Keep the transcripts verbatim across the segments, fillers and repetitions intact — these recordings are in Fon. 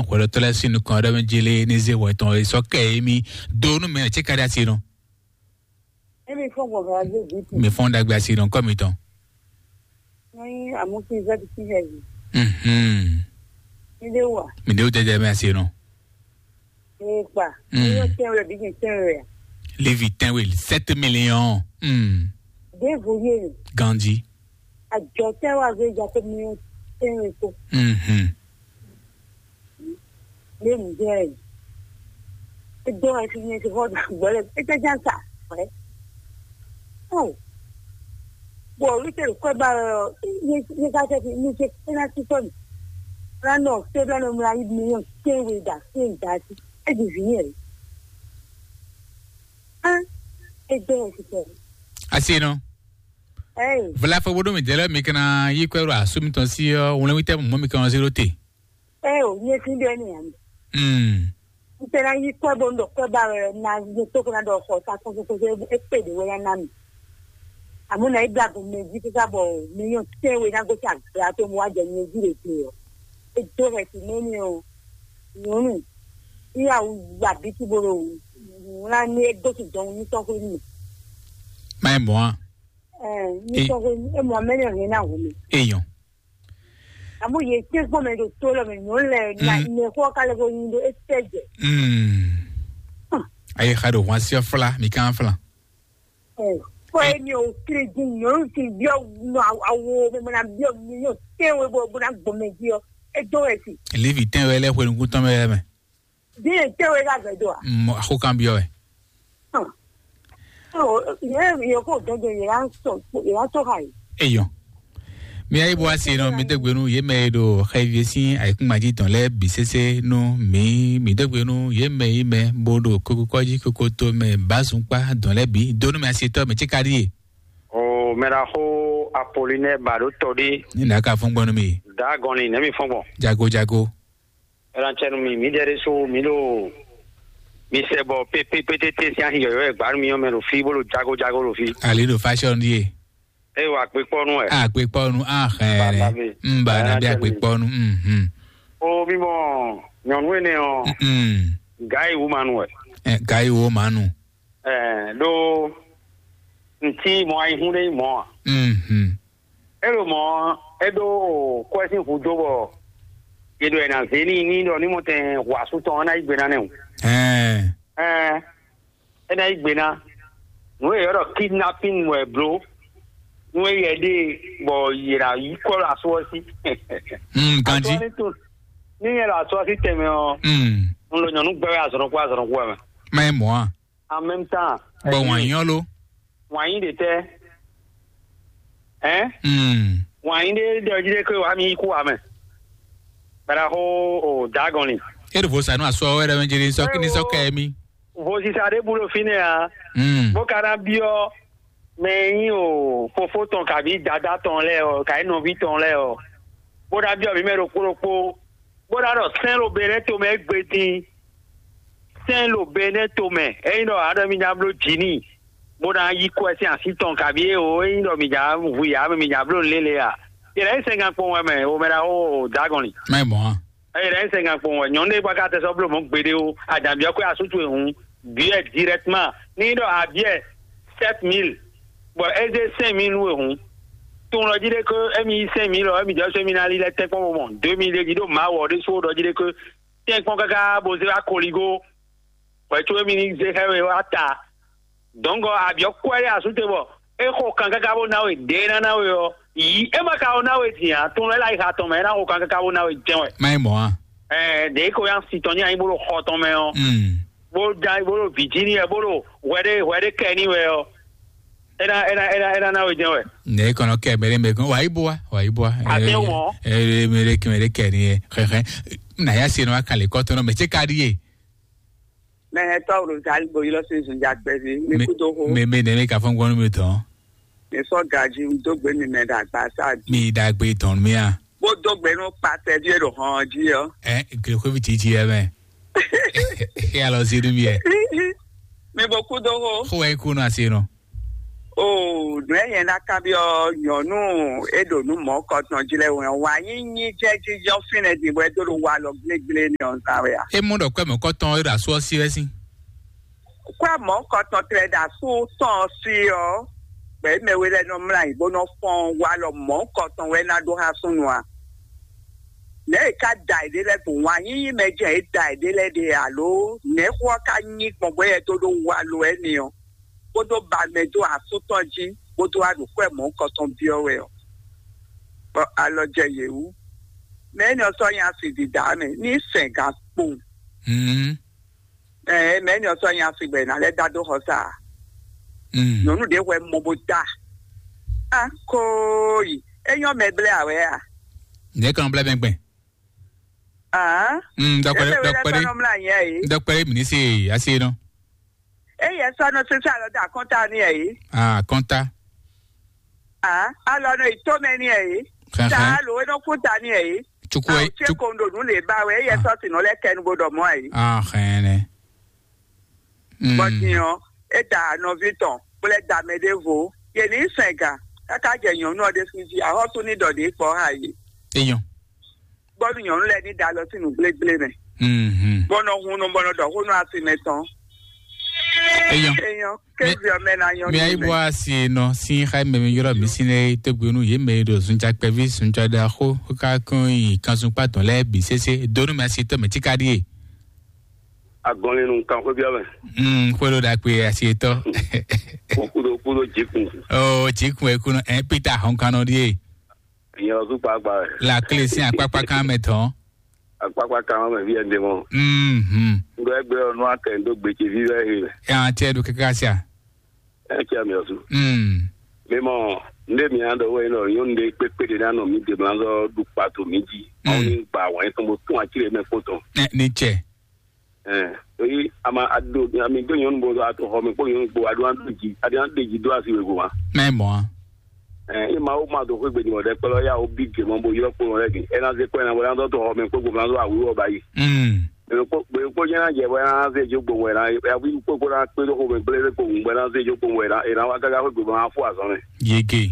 Hwɛɖɔtɔ́ lɛ́ɛ sín nukɔn ɖɔ mɛ jélé ní zé hwɛ tɔn e sɔ́ kɛ émí dó nú mɛ cé ka ɖi asi nɔ. Émi fɔ́n gbɔn gǎn zé vǐ tɔn. Mi fɔ́n ɖagbe asi nɔ kɔ mitɔn. Ní amúkí zɛ́ ti sín hɛ yìí. Mhm. Ní dé wà. Mi ɖe wò jɛjɛ mɛ asi nɔ. Ní kpa. Mm. Ní yóò tẹ́ wẹ̀ bí kì í tẹ́ wẹ̀ à. Lévi tɛnwe sept millions. Mm. Dé vo yé. Gandhi. Àjọ tẹ́ wà gbé ja tó mi tẹ́ wẹ̀ tó. Mhm. Lé nǔ jɛ ɛ. Edó ɛ fi nyɛ ti xɔ gbɔ lɛ ete ján sa ɛ. Ó. Bɔ wí tɛ kɔ ba ɔ, nyɛ nyɛ ka tɛ fi nyɛ tɛ ena ti tɔ mi. Bla nɔ se bla nɔ mla yi mi yɔ se we da se da ti. E di vi yɛ. Ah. Edó ɛ fi tɛ. Asi nɔ. Ɛ. Vla fɔ bodo mi dɛlɛ mi kana yi kwɛ ro asu mi tɔn si ɔ wlɛn wi tɛ mɔ mi kan ɔ zero te. Ɛ o, nyɛ fi ɖe ni ami. Mm. N tɛ na yi kwɛ bo n ɖɔ kwɛ ba wɛ na ye to ko na ɖɔ xɔ sa kɔsɔkɔsɔ e kpe ɖe wɛ ya na mi. Amu na yi bla bo mɛ ji kika bɔ mi yɔ tɛ we na go sa gra to mo wa jɛ nyɛ ji ɖe te ɔ. E do hɛ ti mɛ ni ɔ. Nyɔnu. Iya wu wa bi ti bo ɖo wla ni e do ti dɔn ni tɔ ko ni. Mai mɔ a. Ɛ, ni tɔ ko ni e mɔ mɛ ni ɔ ni na wu mi. Eyɔn. Amu ye tse gbɔ mɛ ɖo to lɔ mɛ nyɔnu lɛ na Mm. Ne xɔ ka lɛ ko nyi ɖo e tɛ jɛ. Mm. Ayi xa ɖo hwan si fla mi kan fla. Ɛ, kɔ ye mi o kiri di nyɔnu ti biɔ nɔ awo mɛ mɛ na biɔ mi yɔ te we bo bo na gbɔ mɛ di ɔ e do wɛ si. Lévi tɛn wɛ lɛ xwe nukun tɔn mɛ mɛ. Di ye te we ka gbɛ do a. Mɔ axo kan biɔ wɛ. Hàn. Ó, yě yě kó dɔn jẹ yě wá sọ yě wá sọ ha yìí. Eyɔn. Mi ayi bɔ asi nɔ mi degbe nu ye mɛ e ɖo xɛvi sín ayikúngbají tɔn lɛ bi sese nu mi mi degbe nu ye mɛ yi mɛ bo ɖo koko kɔji koko to mɛ bazunkpa dɔn lɛ bi donu mɛ asi tɔ mɛ tsi ka ɖi ye. O mɛɖaxo Apolinɛ ba ɖo tɔ ɖi. Ni na ka fɔn gbɔn nu mi. Da gɔn ni nɛ mi fɔn gbɔn. Jago jago. Ɛlɔn cɛnu mi mi dɛ ɖe so mi ɖo mi sɛ bɔ pépépétété sín ahi yɔyɔ ɛ gbanu mi yɔn mɛ ɖo fi bó ɖo jago jago ɖo fi. Ali ɖo fashion ɖie. Eye wa kpekpɔnu ɛ. A kpekpɔnu a xɛ. Balabe. N ba na bí a kpekpɔnu. Mhm. O mi mɔ nyɔnu ene ɔ. Mm. Gai wu manu ɛ. Ɛ gai wo manu. Ɛ ɖo ntí mɔ ayihun ɖe mɔ a. Mhm. Elo mɔ é ɖó kwɛ́ sín hudó bɔ yě ɖo ɛ ná zé n'i ní ɖɔ ní mɔ tɛn hu asú tɔn ɔ́ ná yí gbe ná nɛ́ o. Ɛɛ. Ɛɛ, é ná yí gbe ná. Nǔ e yě ɖɔ kidnapin wɛ bló. Nú é yɛ ɖe bɔ yě ná yí kɔ ɖo asú ɔ́ sí. Mm, ganjí. Asú ɔ́ ní to ní yɛ ɖo asú ɔ́ sí tɛnmɛ ɔ́. Mm. Un ɖo nyɔ̌nu gbɛ́ wɛ azɔ̌ ɖokpó azɔ̌ ɖokpó wɛ mɛ. Má nyí mɔ̌ a? En même temps, bɔ wǎn nyí ɔ́ lo? Wǎn nyí ɖě tɛ́? Ɛn? Mm. Wǎn nyí ɖě ɖɔ jí ɖé ké wǎ mi yí kú wǎ mɛ. Bɛ́ɖaxó o dǎgɔn ni. É ɖo vo sa nú asɔ wɛ ɖɔ mɛ jeli sɔ ní sɔ kɛ mí. Vozisa ɖé bu ɖo fínɛ́ ǎ. Mm. Bó ka ná byɔ́ mɛ e nyí o fofó tɔn kabí dadá tɔn lɛ́ɛ ɔ, kabí nɔví tɔn lɛ́ɛ ɔ, bó ná byɔ́ mǐ mɛ ɖokpó ɖokpó, bó ná ɖɔ sɛ́n ɖo Benɛ́to mɛ égbé dín. Sɛ́n ɖo Benɛ́to mɛ, ényí ɖɔ a ɖɔ mi ná bló jǐ n'i, bó ná yí kɔ ɛ sín así tɔn kabí é o, ényí ɖɔ mi ná hu yǎ mɛ mi ná bló nǔ lélẹ̀ a? Yě ná nyí sɛngán kpɔn wɛ mɛ, o mɛ ɖaxó o dǎgɔn li. Má nyí mɔ̌ a? Eye ɖe sɛngán kpɔn wɛ nyɔnu ɖé gba ka tɛ sɔ́ bló mɔ̌ gbeɖé o, adǎn byɔ́ kwé asú towe hǔn, byɔ́ ɛ directement. Ní ɖɔ abyɛ sept mille, bɔ é zé cinq mille nú we hǔn. Tunwun ɖɔ jí ɖé ké émi yí cinq mille ɔ́, émi jɛ sɔ́ émi ná lílɛ́ tɛ́nkpɔ́n bo mɔ deux mille jí ɖó Mawu ɔ́ ɖésú ɖɔ jí ɖé ké tɛ́nkpɔ́n káká bo zé wá koligo, bɔ é có émi ní zé xá we wá ta. Dɔ̌nkɔ abyɔ̌ kwɛ́ ɖé asú te bɔ é xo kan káká bó ná we ɖě é ná ná we ɔ́, yǐ é ma ka ko ná we din ǎ, tunwun lɛ́ láyi xa tɔn mɛ é ná xo kan káká bó ná we jɛ́n wɛ. Má nyí mɔ̌ a? Ɛɛ, ɖě ko nyí asi tɔn ní anyi bó ɖo xɔ tɔn mɛ ɔ́, Mm. Bó da bó ɖo Virginie bó ɖo hwɛɖé hwɛɖé kɛ ní wɛ ɔ́, é ná é ná é ná é ná ná we jɛ́n wɛ. Nɛ kɔnɔ kɛ mɛ ɖé mɛ gɔn wà á yí bó wa wà á yí bó wa. Àti wọ́n. Ɛ ɛ mɛ ɖé kɛ mɛ ɖé kɛ ní yɛ xɛxɛ. Nà yá se nɔ wa kàlẹ́ kɔtɔn nɔ mɛ tse ka ɖi yé. Mɛ hɛn tɔ́ wlo zali bo ylɔ́ sín zunjakpɛví mi kú dó xó. Mɛ mɛ nɛ mi ka fɔn gbɔn mi tɔn. Mi sɔ gaji dó gbé mi mɛ ɖo agbasa dzi. Mi ɖagbe tɔn mi a. Bó dó gbé nú kpatɛ ví e ɖo hɔn jí ɔ. Ɛ glekovi titi yɛ mɛ. E alɔ si ɖu mi yɛ. Mi bo kú dó xó. Xó wɛ kú nɔ asi nɔ. Oo, nǔ e nyɛ ná kanbyɔ́ nyɔ̌nu e ɖo nǔ mɔ̌kɔtɔn jí lɛ́ɛ wɛ ɔ́, wǎ nyínyí jɛ́n jínjɔ́n fínɛ́ din bɔ é dó ɖo walɔ gblégblé n'i ɔ́ zán wɛ a? É mɔ ɖɔ kwɛ́ mɔ̌kɔtɔn e ɖo asú ɔ́ sí wɛ sín. Kwɛ́ mɔ̌kɔtɔn tlɛ ɖo asú tɔn ɔ́ sí ɔ́, gbɛ̌ mɛ we lɛ́ɛ nɔ mlá ayǐ bó nɔ fɔ́n walɔ mɔ̌kɔtɔn wɛ ná ɖó xá súnnu a? Nɛ̌ è ka da è ɖe lɛ́ɛ gbɔn? Wǎn yíyí mɛ jɛ́n è da è ɖe lɛ́ɛ ɖe alo nɛ̌ xó ɔ́ ka nyí gbɔn bɔ é yɛ dó ɖó walɔ wɛ n'i ɔ́? Kpódó ba mɛ dó asú tɔn jí bó dó wá ɖo xwɛ mɔ̌hunkɔ tɔn byɔ́ wɛ ɔ́, bɔ alɔ jɛ yě wú. Mɛ énɛ́ ɔ́ sɔ́ nyí asi dida mɛ ní sɛn gan kpowun. Ɛɛ, mɛ énɛ́ ɔ́ sɔ́ nyí asi gbɛ ná lɛ́ dá dó xɔ sa. Nyɔ̌nu ɖě hwɛ mɔ bó da. A kóyi, é nyɔ́ mɛ blɛ́ awɛ a? Nyɛ kan blɛ́ mɛ gbɛn. Ah, Mm, dɔkpɛrɛ, dɔkpɛrɛ, dɔkpɛrɛ, nɔ mla nyɛ yi. Dɔkpɛrɛ mi ní se asi nɔ. Eye sɔnɔ sisa lɔ da kɔnta ni yi. Ah, kɔnta. Ah, alɔ nɔ ito mɛ ni yi. Xɛxɛ. Ta lo e nɔ kun ta ni yi. Tsuku Ah, e, o tse tsuku. Kondo nu le ba we eye Ah. Sɔsi nɔ lɛ kɛ nu bo dɔ mɔ yi. Ah, xɛnɛ. Mm. Bɔtinyɔ, e da nɔvi tɔn, kple da mɛ ɖevo. Ye ni sɛn gan, kaka jɛ nyɔnu ɔ ɖe fi ji, ahɔsu ni dɔ de kpɔ ha yi. Eyɔn. Bɔnu nyɔnu lɛ ni da lɔ si nu gblégblé mɛ. Mhm. Bɔnɔ hun nu bɔnɔ dɔ hun nu asi mɛ tɔn. Eyɔn. Eyɔn, ke Mi- viɔ mɛ na nyɔnu Mi ayi mɛ. Bɔ asi nɔ sin xa mɛ mi yɔrɔ mi sin ne tɛgbɛnu ye mɛ ɖo zunja kpɛvi zunja da xo ka kɔn yi kanzun kpa tɔn lɛ bi sese donu mɛ asi tɔ mɛ tika die. Agɔnlinu kan xwé biɔ mɛ. Mm, xwé ɖo ɖakpe asi tɔ. Kudo kudo jikun. Oh, jikun ekunɔ ɛ Peter hɔnkanɔ die. Nyɛ ɔzu kpakpa wɛ. La clé sin akpakpa kan mɛ tɔn. Akpakpa kan mɛ vi ɛnde mɔ. Mhm. Ŋgɔ ɛgbɛ ɔnu akɛ ndo gbete vi wɛ he. Ya tiɛ do kaka sia. Ɛ tiɛ mi ɔzu. Mm. Mi mɔ nde mi an dɔ wɛ nɔ nyɔnu de kpekpe de na nɔ mi de blanzɔ du kpato mi ji. Mm. Aw ni gba wɛn tɔn bo tún atsire mɛ kpotɔn. Ɛ ni tsɛ. Ɛɛ, eyi ama ado ami do nyɔnu bo ato xɔ mi kpɔ nyɔnu kpɔ ado an do ji ado an de ji do asi wego ma. Mɛ mɔ. Ɛɛ, ima wo ma do xwe gbedi mɔ ɖe kpɛlɛ ya wo bi ge mɔ bo yɔ kpɔ mɔ lɛ ge ɛna ze kpɛ na wɛ na dɔ to xɔ mi kpɔ gbɔ na do awu wɔ ba yi. Mm. Bɛ kpɔ bɛ kpɔ nyɛ na jɛ wɛ na ze jo gbɔ wɛ na ya wi kpɔ kpɔ na kpe do xɔ mi gble kpɔ ŋu wɛ na ze jo gbɔ wɛ na e na wa gaga xwe gbɔ ma fo azɔn mɛ. Yege.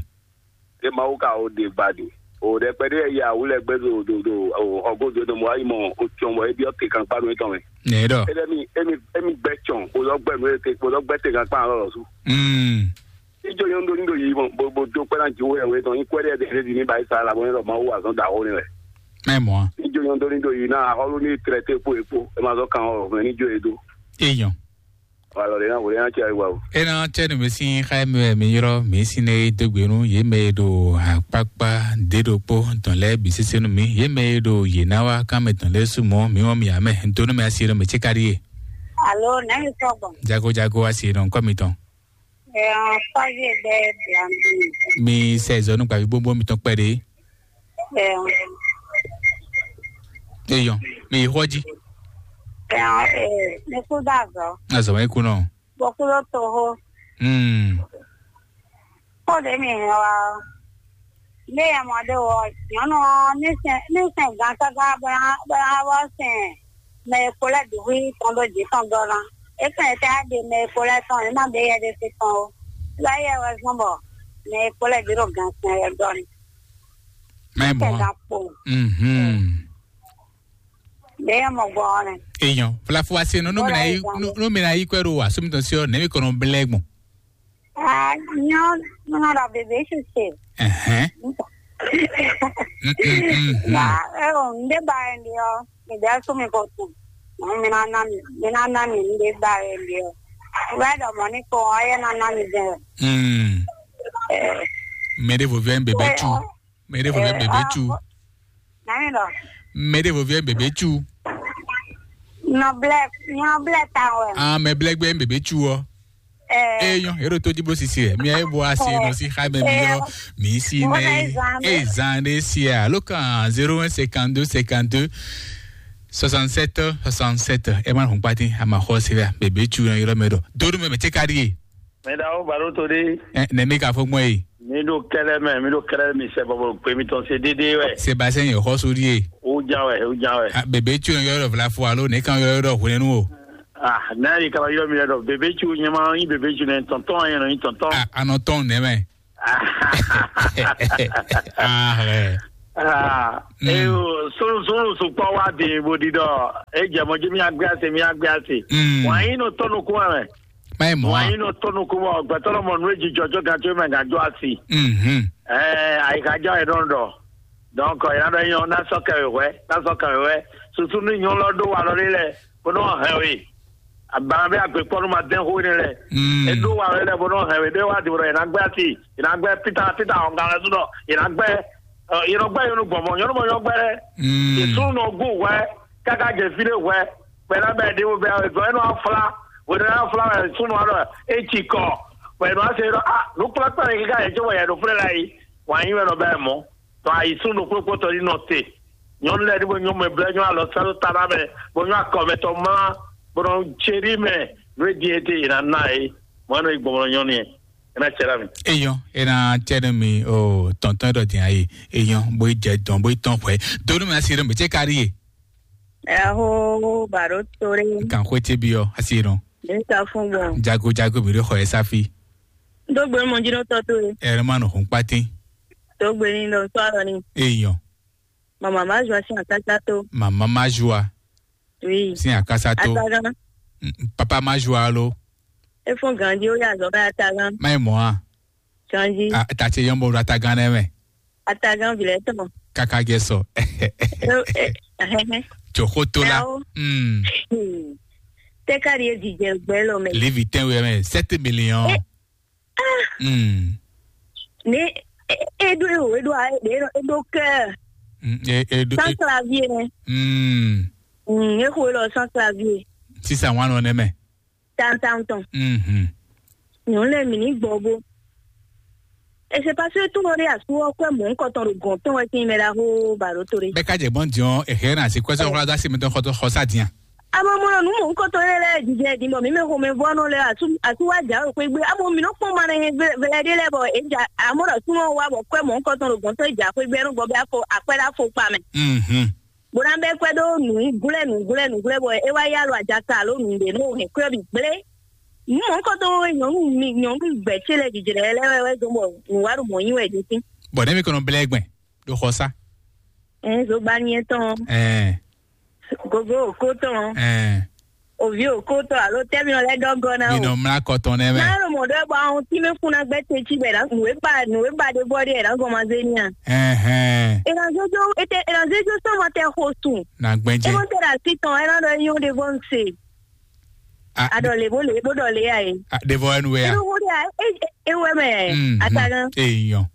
E Mawu ka o ɖe gbadi. O ɖɛkpɛ ɖe ya wu lɛ gbɛ do do do o xɔgo do do mɔ ayi mɔ o tsɔn bɔ e biɔ te kan kpa do etɔn mɛ. Nɛ dɔ. E ɖe mi emi emi gbɛ tsɔn o lɔ gbɛ nu e te o lɔ gbɛ te kan kpa lɔ lɔ su. Mm. Ijo yɔn do ni do yi mɔ bo bo do kpɛ na ji wo yɛ we tɔn ikwɛ ɖe ɖe ɖe di ni ba yi sa la bɔ ne lɔ Mawu wa zɔn da wo ni wɛ. Mɛ mɔ. Ijo yɔn do ni do yi na ahɔlu ni trɛ te po e po e ma zɔ kan o mɛ ni jo e do. Eyɔn. Alɔ ɖe na wòle na tse ayi wa o. Ena tse nu mi sin xa mi mi yɔrɔ mi sin ne dogbe nu ye mɛ ɖo akpakpa de ɖokpo tɔn lɛ bi sese nu mi ye mɛ ɖo ye na wa kan mɛ tɔn lɛ su mɔ mi wɔn mi amɛ ntonu mɛ asi ɖo mɛ tse ka ɖi ye. Alo, nɛni sɔgbɔ? Jago jago asi ɖo nkɔ mi tɔn. Ɛɛ, kɔzi egbe blandu. Mi sɛ zɔnu gbavi gbogbo mi tɔn kpɛ ɖe. Eyɔn, mi yi xɔ ji. Ɛɛ, mi kú dá azɔ. Azɔ wɛ kú nɔ. Bɔkulo toho. Hmm. Kó ɖe mi hɛn wa. Ne yɛ mɔ ɖe wɔ nyɔnu ɔ ne sɛn ne sɛn gan káká bɔ ya bɔ ya wɔ sɛn mɛ e kpo lɛ ɖu hui tɔn ɖo jǐ tɔn dɔ ná. E fɛn tɛ ɖe mɛ e kpo lɛ tɔn e ma ɖe yɛ ɖe se tɔn o. Lɔ yɛ wɛ zɔn bɔ mɛ e kpo lɛ ɖe ɖo gan sɛn wɛ dɔ ni. Mɛ mɔ. Sɛn gan kpo. Mhm. Ɖe yɛ mɔ gbɔ ɔ nɛ. Eyɔn, flafu ase no no mina yi no no mina yi kwɛ ɖo wa so mi tɔn si ɔ nɛ mi kɔnɔ blɛ gbɔn. Ah, nyɔ nuna ɖɔ bebe sise. Ɛhɛn. Mm, mm, mm, mm. Ba e o nde ba e ndi ɔ mi de so mi ko tu. Mi na na mi mi na na mi nde ba e ndi ɔ. Wɛ dɔ mɔ ni ko ɔ ye na na mi de. Mm. Eh. Mɛ ɖe vɔvɛ bebe tu. Mɛ ɖe vɔvɛ bebe tu. Nani dɔ? Mɛ ɖe vɔvɛ bebe tu. Nɔ blɛ nɔ blɛ ta wɛ. Ah, mɛ blɛ gbɛ bebe tu ɔ. Eyɔn, ero to dzi bó sisi ɛ. Mi ayi bo asi nɔ si xa mɛ mi yɔ mi si nɛ. E zan de si ɛ. Alo kan zéro un cinquante-deux cinquante-deux soixante-sept soixante-sept. Ɛ ma hun kpati a ma xɔ si ɛ. Bebe tu yɔ yɔrɔ mɛ dɔ. Dodo mɛ mɛ tse ka di ye. Mɛ da o baro to de. Ɛ, nɛ mi ka fɔ gbɔn ye. Mi do kɛlɛ mɛ, mi do kɛlɛ mi sɛ bɔbɔ gbe mi tɔn se dede wɛ. Sébastien yɔ xɔ so di ye. O jan wɛ, o jan wɛ. Ah, bebe tu yɔ yɔrɔ vla fo alo ne kan yɔ yɔrɔ hwenu o. Ah, nɛ yi kaba yɔ mi ɖɔ bebe tsu nyɛ ma yi bebe tsu nɛ tɔntɔn yɛ nɔ yi tɔntɔn. Ah, anɔ tɔn nɛ mɛ. Ah, ɛ. Ah, Mm. eyo sunu sunu sukpɔ wa di bo di dɔ e jɛ mɔ ji mi agbe ase mi agbe ase. Mm. Wa yi no tɔnu kuma mɛ. Mai mɔ Wa a. yi no tɔnu kuma gbɛtɔ lɔ mɔ nu eji jɔjɔ gan tso mɛ gan jɔ asi. Mhm. Ɛɛ, ayi ka jɔ yɛ dɔn dɔ. Donc yɛ na dɔ nyɔ na sɔ kɛ wɛ na sɔ kɛ wɛ susu ni nyɔ lɔ do wa lɔ lɛ. Bó nɔ hɛn we. Abana bɛ agbe kpɔnu ma dɛn xo ne lɛ. Mm. Eɖo wa wɛ lɛ bó nɔ hɛn we ɖe wa di bó nɔ yina gbɛ ati yina gbɛ pita pita ɔnga lɛ sunɔ yina gbɛ yina gbɛ yɔnu gbɔmɔ yɔnu mɔ yɔ gbɛ lɛ. Mm. Yesu nɔ gu wɛ kaka jɛ fi ɖe wɛ bɛ na bɛ ɖe wo bɛ gɔ ɛnɔ afla wɛ na afla wɛ sunu alɔ etsi kɔ wɛ nɔ ase yɔrɔ a nukplakpla ne kika yɛ tso wɛ yɛ ɖo flɛ la yi wa nyi wɛ nɔ bɛ mɔ. Tɔ ayi sunu ɖokpó kpɔtɔ yi nɔ te. Nyɔnu lɛ ni bo nyɔ mɛ blɛ nyɔ alɔ sɛlɛ ta na mɛ bo nyɔ akɔ mɛ tɔ mla bo nɔ tseri mɛ. Nue di ete yina na ye mɔ ɛnɔ yi gbɔmɔ nyɔnu yɛ ɛna tsɛ la mi. Eyɔn, ena tsɛ ne mi o tɔntɔn ɖɔ din ayi. Eyɔn, bo yi jɛ dɔn bo yi tɔn xwɛ. Donu mi asi ɖe mi tse kari ye. Ɛho baro tore. Kan xwe tse bi ɔ asi ɖɔ. Nka fún gbɔn. Jago jago mi ɖo xɔ yɛ safi. Dogbe mo jino tɔ to ye. Ɛrɛ ma nɔ hun kpatin. Dogbe ni lɔ sɔ alɔ ni. Eyɔn. Mama ma zua sin akasa to. Mama ma zua. Oui. Sin akasa to. Atagan. Mm, papa ma zua lo. E fún ganji o ya zɔ bɛ atagan. Ma yi mɔ a. Ganji. A ta ce yɔn bo ɖo atagan nɛ mɛ. Atagan vilɛ tɔn. Kaka jɛ sɔ. Joxo to la. Ɛwo. Mm. Hmm. Tɛ ka di e jijɛ gbɛ lɔ mɛ. Livi tɛn wɛ mɛ sept millions. Eh. Ah. Mm. Ne e e do e o e do a e do e do kɛ. Mm, e e do. Sans clavier ne. Mm. Mm, e ko e lɔ sans clavier. Sisan wan nɔ ne mɛ. Tantan tɔn. Mhm. Nyɔnu lɛ mi ni gbɔ bo. E se pase to lɔ de asu ɔ kɔ mɔ nkɔtɔn do gɔn tɔn wɛ tin mɛ da ho ba do to de. Bɛ ka jɛ gbɔn diɔn e hɛ na si kwɛsɛ wala da si mi tɔn xɔtɔ xɔsa dian. Amo mɔ nu mɔ nkɔtɔn lɛ lɛ jijɛ di bɔ mi mɛ xɔmɛ vɔ nɔ lɛ asu asu wa ja o kpe gbe amo mi nɔ kpɔn ma ne vɛlɛ de lɛ bɔ e ja amo dɔ sunɔ wa bɔ kɔ mɔ nkɔtɔn do gɔn tɔn e ja kpe gbe nɔ gbɔ bɛ afɔ akpɛ da fo kpa mɛ. Mhm. Bó ná bɛ́ kwɛ́ ɖó nǔglɛ́ nǔglɛ́ nǔglɛ́ bɔ é wá yá lɔ ajaka alo nǔɖé nú hɛ̌nkwɛ́ bǐ gblé. Nǔ mɔ̌hunkɔtɔn e nyɔ̌nu mi nyɔ̌nu gbɛ̌ ce lɛ́ɛ jǐjlɛ́ lɛ́ɛ wɛ wɛ dɔn bɔ nǔ wá ɖo mɔ̌ nyi wɛ din sín. Bɔ nɛ́ mi kɔn nɔ blɛ́ gbɛn ɖo xɔ sá. Ɛn zogbani etɔn. Ɛn. Gogo òkó tɔn. Ɛn. Òví òkó tɔn alo tɛ́ mi nɔ lɛ́ dɔ́ gɔ́ ná Mi o. Nɔ mlá kɔ tɔn nɛ́ mɛ. Má ɖo mɔ̌ ɖɔ bɔ ahun tí mɛ fún ná gbɛ́ te cí bɛ nǔ e ba nǔ e ba ɖe bɔ ɖe ɛ ná gɔn ma zé ní a. Ɛhɛn. È nà zéjó ètè è nà zéjó sɔmɔ tɛ xo sùn. Na gbɛn É jɛ. Mɔ tɛ ɖe asi tɔn ɛ ná ɖɔ nyɔ ɖe bɔ ń se. A Aɖɔ lè bó lè bó ɖɔ lè ya e. A ɖevɔ ɛnu wɛ ya. Inú wo ɖe a e e wɛ mɛ Mm, atagan. Eyɔn.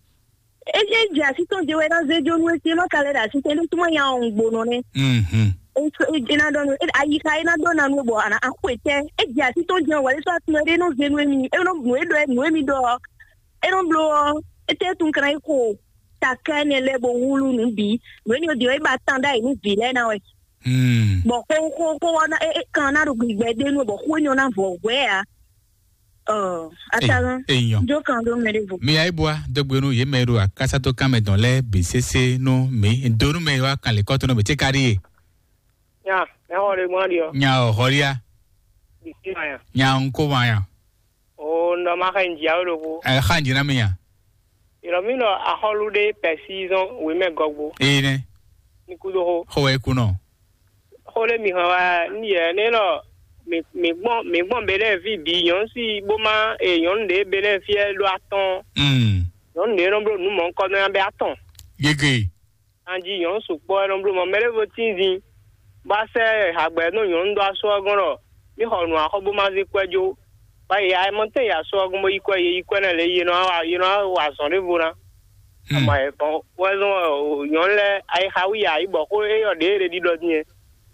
Eji eji asi tɔn je wɛ na zé jo nu esi ma ka lɛ ɖe asi tɔn ɖe tuma ya ɔn gbonɔ nɛ. Mhm. Eji na dɔn nu ayi ka ena dɔn na nu bɔ ana akpɛ tɛ eji asi tɔn je wɛ sɔ atun ɖe no zé nu emi eno nu eɖɔ nu emi ɖɔ eno blo ɔ ete tun kana iko takɛ ne lɛ bo wulu nu bi nu eni odi ɔ eba tan da yi nu vi lɛ na wɛ. Mm. Bɔ ko ko ko ɔ na e e kan na ɖo gbigbɛ de nu bɔ ko eni ɔ na vɔ wɛ a. Ɔ, Atagan. Eyɔn. Jo kan ɖo mɛ ɖe vo. Mi ayi bua dogbe nu ye mɛ ɖo akasato kan mɛ dɔn lɛ bi sese nu mi do nu mɛ wa kan le kɔtɔ nu bi te kari ye. Nya, mɛ xɔ ɖe gbɔn ɖi ɔ. Nya o hɔria. Bisi ma ya. Nya nko ma ya. O ndɔ ma xa nyi awo ɖo vo. Ɛ xa nyi na mi ya. Yɔrɔ mi nɔ axɔlu ɖe pɛsi zɔn wemɛ gɔgbo. Ee nɛ. Ní kúdó xó. Xó wɛ kú nɔ. Xó ɖé mi hɛn wá ní yɛ ní nɔ mi mi gbɔn mi gbɔn be lɛ vi bi nyɔnu si bó ma e nyɔnu ɖe be lɛ fiɛ ɖó atɔn. Mm. Nyɔnu ɖe nɔ bló nu mɔ ŋkɔ nɔ ya bɛ atɔn. Gege. Anji nyɔnu sukpɔ e nɔ bló mɔ mɛ ɖé vo tín zin. Bá sɛ hagbɛ nɔ nyɔnu ɖó asɔ ɔ́ gɔ́n ɖɔ mí xɔ nǔ axɔ bó ma zé kwɛ́ jó. Bá yi ayɛmɔtɛn yi asɔ ɔ́ gɔ́n bó yi kwɛ́ ye yi kwɛ́ nɛ lě ye nɔ wa ye nɔ wa azɔn ɖěvo ná. Hmm. Ama ɛ bɔn wɛzɔn nyɔnu lɛ ayixa wi ya yi bɔ xó eyɔ ɖě ɖe ɖiɖɔ din.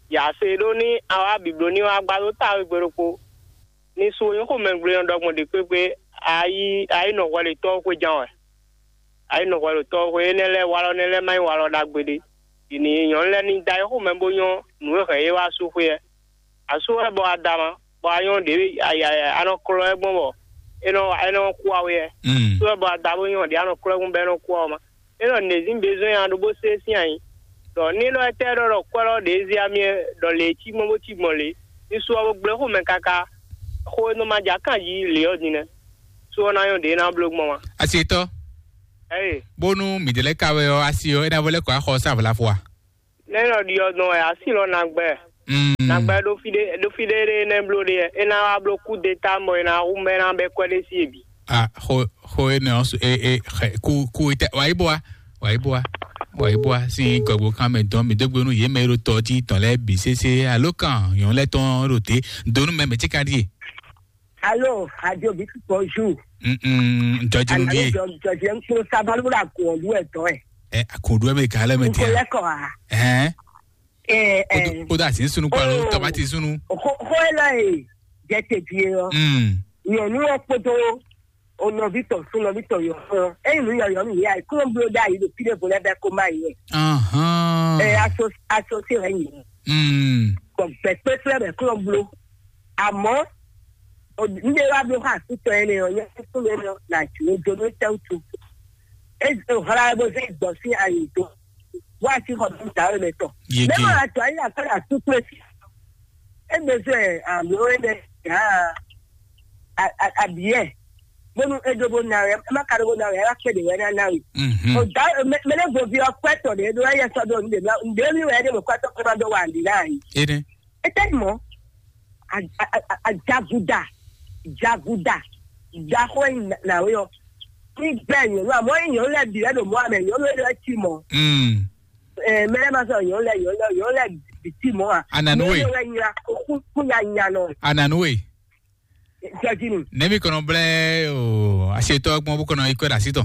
Ya se ɖó ní awa biblo ní wa gba ɖó ta wegbe ɖokpó. Ní su nyɔ́ xomɛ gblé nɔ ɖɔgbɔn ɖě kpékpé ayi ayi nɔ hwɛ le tɔ́ xwé jan wɛ. Ayi nɔ hwɛ le tɔ́ xwé énɛ́ lɛ́ɛ walɔ nɛ́ lɛ́ɛ má nyí walɔ ɖagbe ɖé. Ɖi ní nyɔ̌nu lɛ́ɛ ní da yi xomɛ bó nyɔ́ nǔ e hɛn yě wá sú xwé ɛ. Asú wɛ bɔ a da ma, bɔ a nyɔ́ ɖě a nɔ klɔ́ ɛ gbɔn bɔ é nɔ é nɔ kú awe ɛ. Mm. Asú wɛ bɔ a da bó nyɔ́ ɖě a nɔ klɔ́ ɛ gbɔn bɔ é nɔ kú awe ma. É nɔ nɛ̌zín bezɔn nyi a ɖo bó sé sín ayi. Ɖɔ ní lɔ étɛ́ ɖɔ ɖɔ kwɛ́ lɔ ɖě zé amyɛ ɖɔ lě cí gbɔn bó cí gbɔn lě. Isu ɔ́ bo gblé xomɛ káká. Xó e nɔ ma jɛ akán jí lě ɔ́ din nɛ́. Su ɔ́ ná nyɔ́ ɖě ná bló gbɔn wá. Asi etɔ́, Ɛyí, bónú mǐdɛɛ lɛ́ɛ ka wɛ ɔ́, asi ɔ́, é ná vɔ lɛ́ kɔ axɔ sá vlafo a? Nɛ́ nɔ ɖi ɔ́ dɔn wɛ asi lɔ nagbɛ. Mm. Nagbɛ ɖo fí ɖé ɖo fí ɖé ɖé nɛ́ bló ɖe é ná wá bló kú de ta mɔ é ná hu mɛ ná bɛ kwɛ ɖé sí ebi. A xo xo énɛ́ ɔ́ su- e e xɛ ku ku itɛ wǎ yi bó wa wǎ yi bó wa wǎ yi bó wa sín gɔgbo kan mɛ dɔn mi dó gbe nú yě mɛ e ɖo tɔ jí tɔn lɛ́ɛ bǐ sésé alo kan nyɔ̌nu lɛ́ɛ tɔn ɖo te donu mɛ mɛ tí ka ɖíe. Alo, adio bi bonjour. Mm jɔjinu Alo vie. Jɔ jɔ jɛ nkplo sabalu la ko ɔlu ɛ tɔ ɛ. Ɛ akɔɖu ɛ mɛ gã lɛ mɛ Nko dia. Lɛ kɔ a. Ɛhɛn. Ɛ ɛ. Kódó àti sunu kpalo Oh. Tamati sunu. Ko ko ɛ lɔ e jɛ te die ɔ. Mm. Nyɔnu ɔ kpódó o nɔvi tɔ sun nɔvi tɔ yɔ fún ɔ. Eyi nu yɔyɔ mi ya kúrò blo da yi ɖo fi ɖe vo lɛ bɛ ko ma yi. Ahan. Ɛ aso aso se wɛ nyi. Mm. Kɔ gbɛ kpékplé bɛ kúrò blo. Àmọ́ n ɖe wá bló xá àkútɔ énɛ́ ɔ́, nyɛ kúkú lé nɔ nà jù ú dó nú tɛ́wútu. É hla ɛ bó zé gbɔn sín ayi dó. Wá sí xɔ bí dǎ wé mɛ tɔ. Yege. Mɛ ma tɔ ayé àkàrà súkúrẹ́ sí. É bɛ zɛ àmì ó énɛ́ gǎ abiyɛ. Bónú é dó bó ná wɛ, é má ka dó bó ná wɛ, é wá kpé ɖě wɛ ná ná wɛ. Mhm. O dǎ mɛ lé vovi ɔ́ kpɛ́ tɔ ɖě ɖó ɛyɛ sɔ́ dó nǔɖé ná. Ǹdě mi wɛ é ɖé mɔ kpɛ́ tɔ́ kpé má dó wa ǹdí ná yìí. Ene. Etɛ́ mɔ ajaguda jaguda jaxɔ nyawe ɔ ní gbɛ nyɔnu amɔ nyɔnu lɛ bi lɛ ɖo mɔ amɛ nyɔnu lɛ ti mɔ. Mm. Mɛ lɛ ma sɔ nyɔnu lɛ nyɔnu lɛ nyɔnu lɛ bi ti mɔ a. Ananu we. Nyɔnu lɛ nya kó kó nya nya nɔ. Ananu we. Jɔjinu. Nɛmi kɔnɔ blɛ o asetɔ gbɔn bó kɔnɔ ikɔ da sitɔ.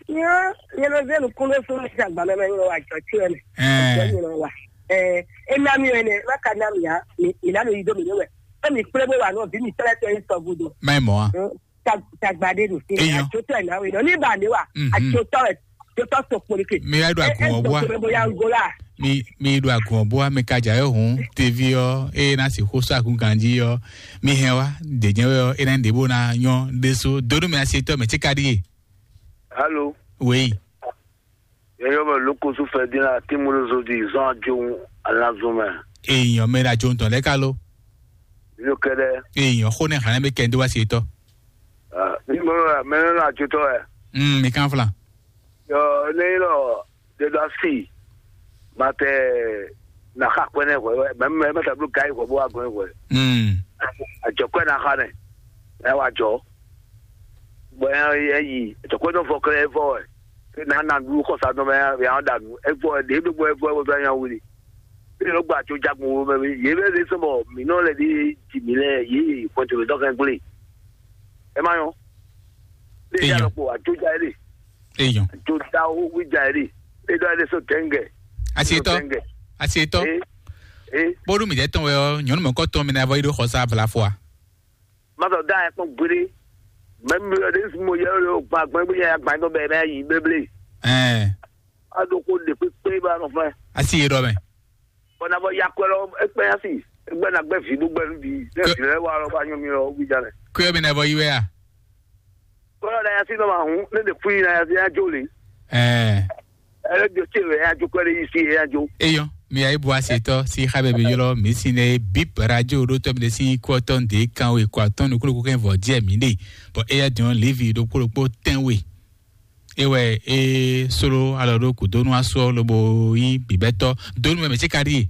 Nyɔ nyɔ zenu kunle fún mi sa gbalẹ mɛ nyɔ wa jɔ tiɛ mɛ. Ɛɛ. Jɔ nyɔ wa. Ɛɛ ena mi wɛ nɛ ma ka na mi ya mi mi na mi yi do mi ne wɛ. Emi kple bo wa nɔ vi mi tɛlɛ tɛ sɔ gudo. Mɛ mɔ a. Tagba de nu. Eyan. Atsotɔ ɛ na we nɔ ni ba ne wa. Mhm. Atsotɔ ɛ atsotɔ to kpoli ke. Mi wá do agun ɔbua. Boya Angola. Mi mi do agun ɔbua mi ka dza yɔ hun tevi ɔ eye na si xo sɔ agun ganji ɔ mi hɛn wa dejɛ wɛ ɔ ena ɖe bo na nyɔ ɖeso donu mi asetɔ mɛ tsika ɖi ye. Alo. Wei. Yeyɔ mɛ lókosú fɛ dín la tí mo ló zo di zɔn ajohun alazun mɛ. Èèyàn mẹ́rin àjọ ń tàn lẹ́ka ló. Yóò kẹ́ dẹ́. Èèyàn kó ní hàn mí kẹ́ndé wá sí etọ́. Ní mo rà mẹ́rin náà àjọ tọ́ ẹ̀. Mm, mi kan flan. Yọ ní lọ dédé sí ma tẹ na xa kpɛnɛ hwɛ mɛ mɛ mɛ tàbí gai hwɛ bó wà gbɛn hwɛ. Mm. Àjọ kpɛ na xa nɛ ɛ wà jọ. Bɔ ɛ yi àjọ kpɛ dɔ fɔ kɛlɛ fɔ ɛ. Ke na na ɖu xɔsa dɔ mɛ ya ya da nu. Ɛ fɔ ɛ ɖe ɖo bɔ ɛ fɔ ɛ wɔ ya wuli. Ɛ lɔ gba tso jagun wo mɛ mi. Ye bɛ de sɔn bɔ mi nɔ lɛ de ji mi lɛ ye pɔtɛ mi dɔ kɛ gble. Ɛ ma yɔ. De ya Eyɔn. Lɔ kpo ajo ja ye de. Eyɔn. Ajo da wo wi ja ye de. E dɔ ye de so tɛngɛ. Asi etɔ. Tɛngɛ. Asi etɔ. E e Bóɖú mǐ jẹ́ tɔn wɛ ɔ́, nyɔ̌nu mɔ̌kɔ́ tɔn mi ná vɔ yi ɖó xɔsá vlafɔa. Má sɔ dá ẹ kpɔn gbeɖé. Mɛ mi ɖe mo yɛ ɖo gba gbɛn gbé yɛ gba dɔ bɛ mɛ yi bébélé. Ɛɛ. A ɖo ko ɖe kpékpé ba nɔ fɛ. Asi yi ɖɔ mɛ. Bɔn na bɔ yakɔ lɔ ekpɛ asi. Egbɛ na gbɛ vi ɖo gbɛ nu di. Ne Ke- vi lɛ wa lɔ ba nyɔ mi lɔ wi ja lɛ. Kuyɔ mi na vɔ yi wɛ a? Kɔlɔ na yasi nɔ ma hun ne ɖe fui na yasi ya jo le. Ɛɛ. Ɛlɛ jo tse wɛ ya jo kɔ ɖe yi si ya jo. Eyɔn, mi ayi bu asetɔ si xa bɛbɛ yɔlɔ mi si ne bip radio ɖo tɔ mi de si kɔ tɔ nde kan we kɔ atɔn nukunu kɛ vɔ jɛ mi de. Bɔn eya diɔn levi ɖokpo ɖokpo tɛn we. Ewɛ e solo alɔ ɖo kudonu asɔ lobo yi bibɛtɔ donu mɛ mɛ tse ka ɖi.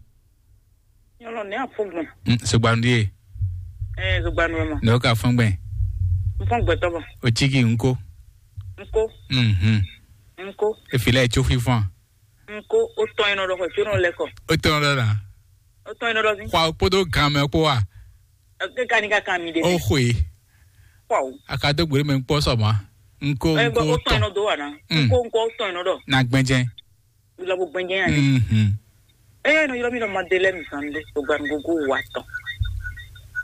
Nyɔlɔ nɛ afɔgbɔn. Mm, sogbanu ɖi ye. Ɛɛ, sogbanu ma. Ne o ka fɔn gbɛn. N fɔn gbɛtɔ bɔ. O tsiki nko. Nko. Mhm. Nko. Efi lɛ tso fifɔn. Nko o tɔn yin nɔ dɔ xɔ tso nɔ lɛ kɔ. O tɔn dɔ na. O tɔn yin nɔ dɔ si. Xɔ kpodo gan mɛ kpo wa. Eke ka ni ka kan mi de. O xwe. Kpɔ o. A ka do gbere mɛ kpɔ sɔ ma. Nko Ɛ nko gbɔ o tɔn yin tɔn. Nɔ do wa na. Mm. Nko nko o tɔn yin nɔ dɔ. Na gbɛnjɛ. Lɔ bo gbɛnjɛ yan ni. Mhm. Eye nɔ yɔrɔ mi nɔ ma de lɛ mi zan de. O gba nko go wa tɔn.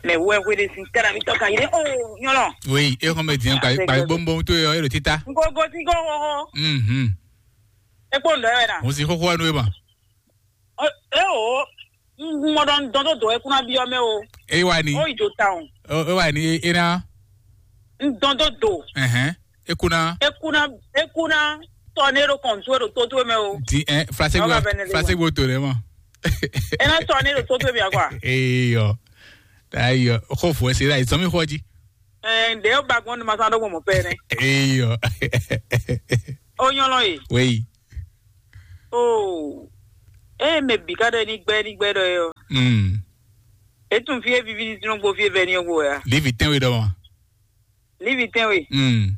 Mɛ wɛ hwe de sin tɛra mi tɔ kan yi de. O nyɔlɔ. Oui, e xɔn bɛ diɲɛ gba gba bɔnbɔn to yɔ e ɖo tita. Nko go ti go ho ho. Mhm. E kpo ndɔ yɛ na. Mo si xoxo anu e ma. E o. N mɔ dɔ n dɔn do do e kuna bi ɔmɛ o. E wa ni. O ijo ta o. E wa ni e na. N dɔn do do. Ɛhɛn. E kuna. E kuna e kuna tɔ ne ɖo kɔntu e ɖo to to mɛ o. Di ɛ flase Awa gbɔ bɛ ne le flase wa. Gbɔ to ne ma. E na sɔ ne ɖo to to bia kwa. Eyɔ. Ayɔ. Xo fo se la izɔmi xɔ ji. Eh, de o ba gbɔn ma sa do mo pe ne. Eyɔ. O nyɔlɔ ye. Wei. Oh. Eh, me bi ka de ni gbɛ ni gbɛ do yo. Mm. E tun fie vivi ni tun gbo fie vɛ ni gbo ya. Livi tɛnwe dɔ ma. Livi tɛnwe. Mm.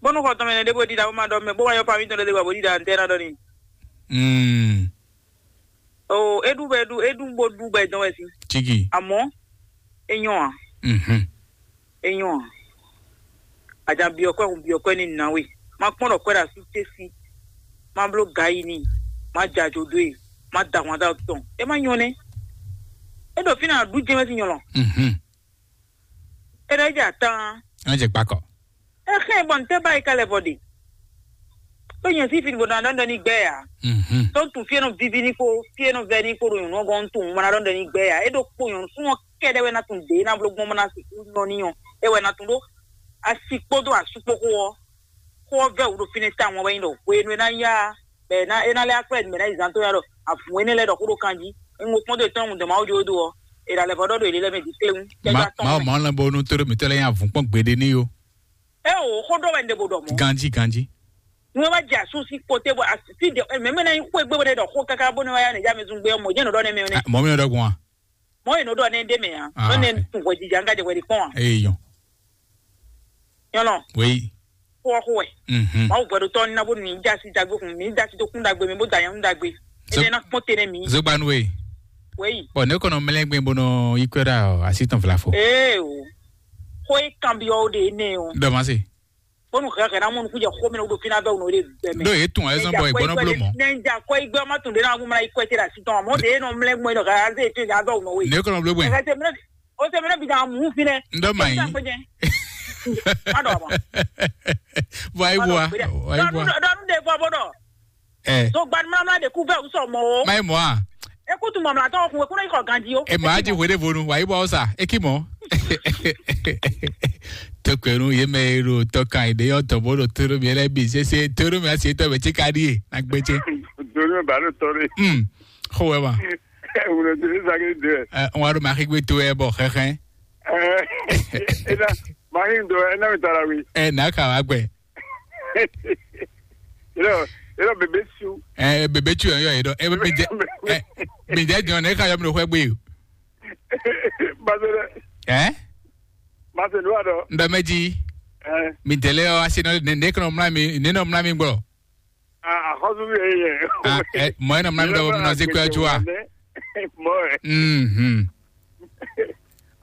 Bonu xɔ tɔmɛ ne de bo di da bo ma dɔ me bo wa yɔ pa mi tɔn de bo di da ntɛ na dɔ ni. Mm. O, e ɖu bɔ e ɖu, e ɖu bo ɖu bɔ e dɔn wɛ si. Chigi. Amɔ, e nyɔ a? Mhm. E nyɔ a? Ajan biɔ kwɛ, kun biɔ kwɛ ni na we. Ma kpɔn ɖɔ kwɛ ɖo asú ce si. Ma bló ga yi ni. Ma ja jo do e. Ma da hwan da tɔn. E ma nyɔ nɛ. E ɖo fina ɖu jɛmɛ si nyɔlɔ. Mhm. E ɖo e ja tan. An jɛ kpakɔ. Ehe bɔ n tɛ ba yi ka lɛ vɔ de. Ko nyɛ si fin bo na dɔn dɔn ni gbɛ ya. Mhm. Tɔn tun fie nɔ vivi ni ko, fie nɔ vɛ ni ko ɖo nyɔnu gɔn tun mana dɔn dɔn ni gbɛ ya. E ɖo kpo nyɔnu fún ɔ kɛɖɛ wɛ na tun de na blo gbɔn mana si nɔ ni ɔ. E wɛ na tun ɖo asi kpodo asu kpo ko ɔ. Ko ɔ vɛ wu ɖo fine ta wọn wɛ nyi ɖɔ hwenu e na ya bɛ na e na lɛ akpɛ mɛ na yi zan to ya ɖɔ avun ene lɛ ɖɔ ko ɖo kan ji. N ko kpɔn do tɔn ŋun dɔ ma wo jo do ɔ. E ɖa lɛ vɔ ɖɔ ɖo ele lɛ mɛ di kle ŋu. Ma ma ma lɛ bo nu to ɖo mi tɔ lɛ nya vun kpɔn gbede ni yo. E o xó ɖɔ wɛ n ɖe bo ɖɔ mɔ. Ganji ganji. Nú wá jɛ asú sí kpoté bɔ así de mɛ mɛ náà kó egbé wɛ ɖɔ xó káká bó ne wá yá ne já mi zun gbé mɔ jẹ́ nɔ ɖɔ ne mɛ ne. Mɔ mi ɖɔ gbɔn. Mɔ yi nɔ ɖɔ ne ɖe mɛ ya. Ah, ne tun hwɛ jija n ka jɛ hwɛ di kpɔn wa. Eyi yɔn. Yɔnɔ. Wei. Kó xó wɛ. Mhm. Mawu hwɛ ɖo tɔ na bó mi já sí dagbe kun mi já sí tó kún dagbe mi bó da yẹn dagbe. Zo- Ene na kpɔn tene mi. Zogbanu wei. Wei. Bɔn ne kɔnɔ mlɛ gbɛn bó nɔ yi kɔ ɖa asi tɔn fila fo. Ee o. Xó e kanbyɔ o de ne o. Dɔ ma se. Bonu hɛhɛ na mɔnu kújɛ xó mi na wúdo fina bɛ wúno de bɛ mɛ. Ɖó yě tún ayé zɔn bɔ ìgbɔnɔ bló mɔ. Nɛ n ja kɔ igbe ɔmɔ tún de na wúma yi kɔ etí la si tɔn mɔ de nɔ mlɛ gbɔn nɔ ka ze tún ja bɛ wúno we. Ne kɔnɔ bló gbɛn. Kɛkɛ tɛ mɛ o tɛ mɛ bi da mu fi nɛ. N dɔ ma yi. Ma dɔ ma. Wa yi bua. Wa yi bua. Dɔnu de fɔ bɔ dɔ. Ɛ. So gbanimlamla de kú bɛ wusɔ mɔ o. Ma yi mɔ a. Ekutu mɔmlatɔ kun ekuna ikɔ ganji o. E ma di hwe de vonu wa yi bɔ sa e ki mɔ. Tokpɛnu ye mɛ e ɖo tɔkan yi de yɔ tɔbɔ ɖo toro mi lɛ bi sese toro mi asi tɔ bɛ tsi ka di ye na gbɛ tse. Donu ba ɖo tɔ de. Hmm. Xo wɛ ma. Wulɔ tɛ ne zage de. Ɛ n wa ɖo maxigbe to ɛ bɔ xɛxɛ. Ɛ ɛ na maxi do ɛ na mi tara wi. Ɛ na ka wa gbɛ. Yɔrɔ yɔrɔ bebe su. Ɛ bebe tu yɔ yɔ yi dɔ ɛ mi jɛ ɛ mi jɛ jɔn ne ka yɔ mi ɖo xɔ gbe o. Basɛlɛ. Ɛ. Basɛlɛ wa dɔ. N bɛ mɛ ji. Ɛ. Mi dɛlɛ yɔ asi nɔ ne ne kɔnɔ mla mi ne nɔ mla mi gbɔ. Ah, ah, xɔsu mi yɛ. Ah, ɛ mɔ ɛ nɔ mla mi dɔ mi nɔ se kpɛ ju wa. Mɔ ɛ. Mhm.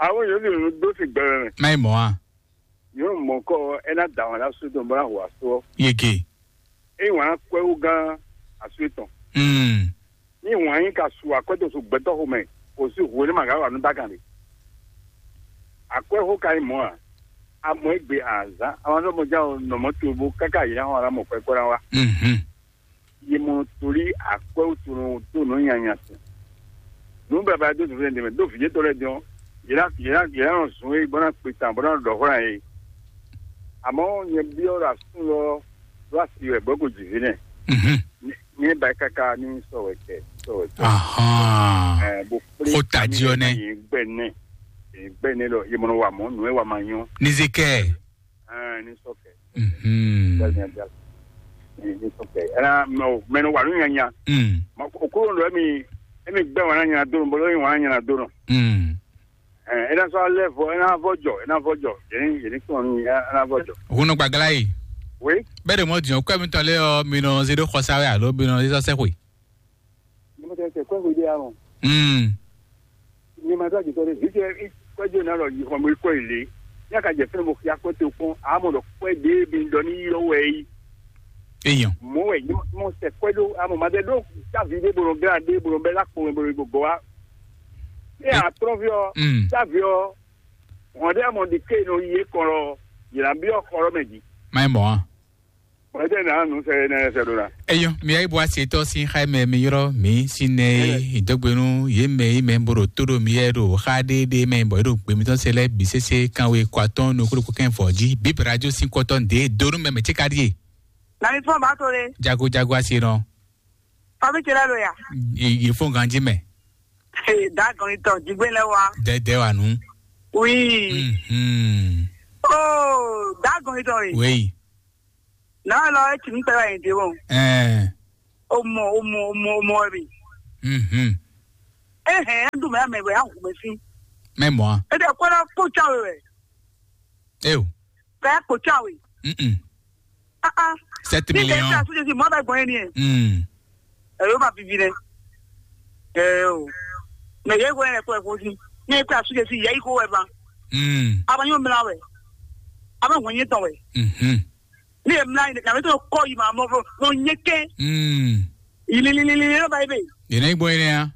Awo yɔ mi do si gbɛmɛ. Mayi mɔ a. Nyɔnu mɔ̌kɔ ɔ́, é ná da ahwan ɖó asú tɔn bó ná hu asú ɔ́. Yeke. Ényí wǎn ná kɔ́ ɛ wú gán asú étɔn. Mm. Ní wǎn nyí ka su akwɛ́ tɔn su gbɛtɔ́ xomɛ, kò sí hwenu ma gǎ wa nú dákan ɖe. Akwɛ́ xó ka nyí mɔ̌ ǎ. A mɔ égbé azǎn, a ma ɖɔ mɔ ján o, nɔ mɔ̌ towe bó káká yě ná xɔ ná mɔ kwɛ́ kó ná wá. Mhm. Yi mɔ tolí akwɛ́ wútu nɔ dó nǔ nyanya tɔn. Nǔ baba dó zǐnflɛ́n ɖě mɛ, dó vǐ yětɔn lɛ́ɛ din ɔ́, yě ná yě ná yě ná nɔ zun é bó ná kpe tawun bó ná ɖɔ xó ná yě. Àmọ́ nyɛ byɔ́ ɖo asú lɔ ɖó asi wɛ bɔ é ko jǐ vǐ nɛ. Mhm. Nyɛ ba káká ní sɔ wɛ kɛ sɔ wɛ kɛ. Ahán. Ɛ bó kplé Xó tají ɔ́ nɛ́. Yě gbɛ nɛ yě gbɛ nɛ lɔ yě mɔ nɔ wa mɔ̌ nǔ é wa ma nyɔ́. Ní zé kɛ. Ɛɛ ní sɔ kɛ. Mhm. Ní ní sɔ kɛ. Ɛnɛ mɛ o mɛ nɔ wa nǔ nyanya. Mm. Ma o kúrò lɔ mi emi gbɛ wana nyana dó nɔ bolo emi wana nyana dó nɔ. Mm. Ɛ ena sɔ alɛ vɔ ena vɔ jɔ ena vɔ jɔ yɛn yɛn kpɔn ni ena vɔ jɔ. Hun nɔ gbagla yi. Oui. Bɛɛ de mɔ diɲɔ kɔ mi tɔn lé ɔ mi nɔ zi ɖo xɔsa wɛ alo mi nɔ zi sɔ sɛ xwe. Ni mo tɛ tɛ kɔ xwe de ya mɔ. Mm. Ni ma tɔ jitɔ de vi tɛ kɔ jo na lɔ yi xɔ mo kɔ yi le. Ya ka jɛ fɛn mo ya kɔ to kpɔn a mɔ dɔ kɔ de bi dɔ ni yɔ wɛ yi. Eyan. Mo wɛ ni mo sɛ kɔ do a mɔ ma de do ta vi de bolo gra de bolo bɛ la kpɔ bolo go wa. E a trɔ vi ɔ, Mm. ta vi ɔ, wọn de a mɔ di ke no yi e kɔ lɔ, yi la bi ɔ kɔ lɔ mɛ di. Mai mɔ a. Wɛdɛ na nu sɛ ne sɛ do na. Eyɔ, mi ayi bɔ ase tɔ sin xa mɛ mi yɔrɔ mi sin ne idɔgbenu ye mɛ yi mɛ boro to do mi yɛ do xa de de mɛ bɔ do gbe mi tɔ se lɛ bi sese kan we kɔ atɔn no kolo ko kɛn fɔ ji bi radio sin kɔtɔ de do nu mɛ mɛ ti ka die. Na mi fɔ ba to le. Jago jago ase nɔ. Fami ce lɛ lo ya. Ye fo ganji mɛ. Hey, da gan itɔ jigbe lɛ wa. Dɛdɛ wa nu. Oui. Mhm. Oh, da gan itɔ ye. Oui. Na lɔ e ti mi pɛ wa yin de wo. Eh. O mɔ, o mɔ, o mɔ, o mɔ bi. Mhm. Eh, eh, du mɛ mɛ bɛ ya hu mɛ si. Mɛ mɔ. E de ko la ko cha we we. Eyo. Ka ya ko cha we. Mhm. Ah ah. Sept millions. Ni de cha su si mo ba gbɔn ni. Mm. Ɛ yóò ma vivi nɛ. Ɛ o. Mɛ yɛ ko yɛ kó ɛ kó sí. Ní ẹ kó asúnjẹ sí yẹ yìí kó wẹ ba. Mm. A ma nyɔ mìíràn wẹ. A ma hùn yín tán wẹ. Mhm. Ní ẹ mìíràn yìí, nàbẹ tó kọ́ yìí ma mọ fún mọ nyẹ kẹ́. Mm. Yìlílílílí ló bá yìí bẹ. Yìí ní gbọ́ yìí ni ya.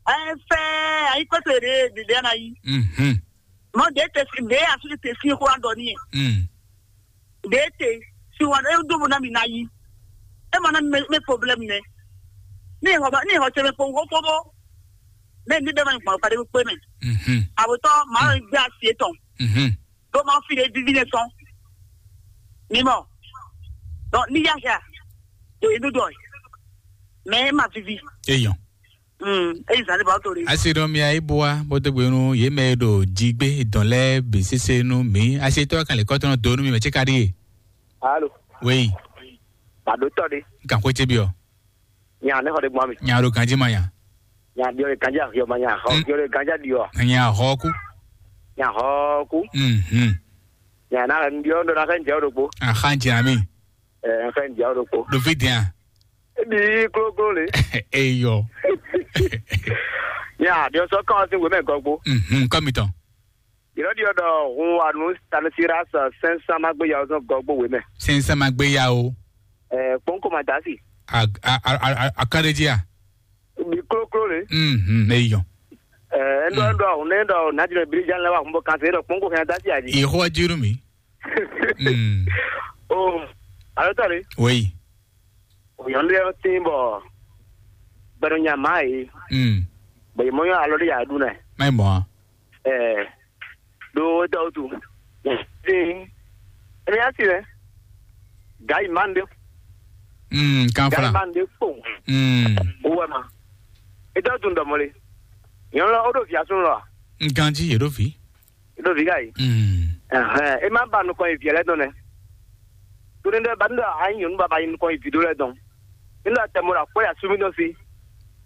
Ẹ fẹ́ ayé kpẹ́tọ̀ èdè dèdè náà yìí. Mhm. Mɔ ɖe te ɖe asúnjɛ te sí kó wá dɔ ní yɛ. Mm. Ɖe te si wa ɖe dó bo ná mi ná yí. E ma ná mi mɛ problème nɛ. Ní ìhɔ ba ní ìhɔ tse mɛ kpowó kpóbó. Mɛ ní bɛ ma gbɔn kpaɖé kpé mɛ. Mhm. Àwòtọ́ màá lọ gbé asi etɔn. Mhm. Ɖó máa fi ɖe vivi nɛ sɔn. Ní mɔ. Donc ní yáhia. Yòóyí dúdú ɔ̀yí. Mɛ é ma vivi. Eyɔn. Mm, eyi zan ne ba to de. Asi ɖɔ mia yi bua bó dó gbe nú yě mɛ e ɖo jigbé dɔn lɛ́ɛ bǐ sésé nú mǐ. Asi tɔ́ kan lě kɔ́tɔ́ nɔ do nú mi mɛ cé ka ɖíe. Alo. Wéyi. Ba ɖo tɔ de. Kan xwé cé byɔ. Nya ne xɔ de gbɔn mi. Nya ɖo ganji ma nya. Nya biɔ de ganji ahiɔ ma nya xɔ. Mm. Biɔ de ganji aɖiɔ. Nya xɔ kú. Nya xɔ kú. Mhm. Nya na biɔ ɖo na xɛ njɛ ɖokpo. Axa njɛ ami. Ɛ xɛ njɛ ɖokpo. Ɖo vi dɛn a. Ebi klókló le. Eyɔ. Ya ɖiɔ sɔ kàn ɔ́ sín wěmɛ gɔgbo. Mhm, kɔmitɔn. Yìlɔ ɖiɔ ɖɔ hun wa nú Stanislas sɛnsɛn ma gbé ya ɔ́ sɔn gɔgbo wěmɛ. Sɛnsɛn ma gbé ya o. Ɛ kpɔnkɔ ma dasi. A a a a a kan ɖe jí a. Ebi klókló le. Mhm, eyɔ. Ɛ ɛndɔ ɛndɔ hun ne ɛndɔ nadjinɛ birijan lɛ wa hun bɔ kan se ɛndɔ kpɔnkɔ kan dasi a jí. Yehowa jiru mi. Mm. O alo tɔ de. Oui. Òyàn lé ɔ́ tín bɔ gbɛɖɔ nya má yě, Mm. Bɔ yě mɔ nyɔ́ alɔ ɖé yǎ ɖu nɛ. Má mɔ a. Ɛɛ ɖo wétɔ wutu. Tín. Ɛnɛ yá si lɛ. Gǎ yi má ɖé. Mm, kan gǎ yi fla. Má ɖé kpo. Mm. Owó ɛ ma. Ètò tún dɔ̀mọ́ le. Nyɔ̌nu lɔ ó ɖo vǐ asúnú lɔ a? Nganji yě ɖo vǐ. Ɖo vǐ ka yi. Mm. Ɛhɛn, e ma ba nukɔn yi vǐ lɛ́ɛ dɔn nɛ. Tóní ɖɔ ba nú ɖɔ a nyí nyɔ̌nu baba yi nukɔn yi vǐ ɖó lɛ́ɛ dɔn. Ní ɖɔ tɛmɔ ɖo akwɛ́ ya súnmí dɔn sí.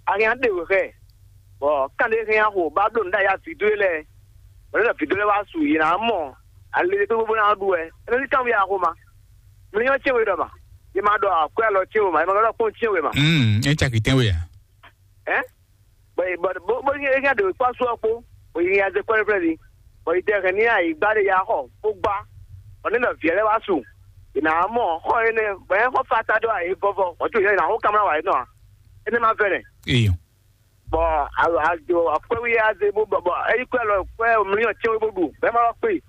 A hɛn a ɖe wě xɛ. Bɔ kán ɖé hɛn a xo ba bló nǔ ɖo aya vǐ dó e lɛ́ɛ. Bɔ ní ɖɔ vǐ dó lɛ́ɛ wá su yě ná mɔ. Ale ɖé kpékpé bó ná ɖu wɛ. É nɔ ní kán wí a xo ma. Mi nyɔ́ cɛ́n we ɖɔ ma. Yě ma ɖɔ akwɛ́ alɔ cɛ́n we ma. Yě ma ɖɔ kpɔ́n cɛ́n we ma. Mm, é caki tɛ́n we a? Ɛ? Bɔ bɔ bɔ bɔ yɛ yɛ de kpa su ɔkpo, bɔ yɛ yɛ ze kɔɛ fɛn di, bɔ yɛ tɛ hɛn ni ayi gba de ya xɔ kpo gba, bɔ ne nɔ viɛ lɛ wa su, ina mɔ xɔ ene bɔ yɛ xɔ fa ta do ayi vɔvɔ, bɔ to yɛ ina xɔ kamla wa yɛ nɔ a, ene ma fɛ nɛ. Iyo. Bɔ a a jo akwɛ wi ya ze bo bɔ bɔ eyi kwɛ lɔ kwɛ mliyɔn tiɛ wi bo ɖu, bɛ ma lɔ kpe,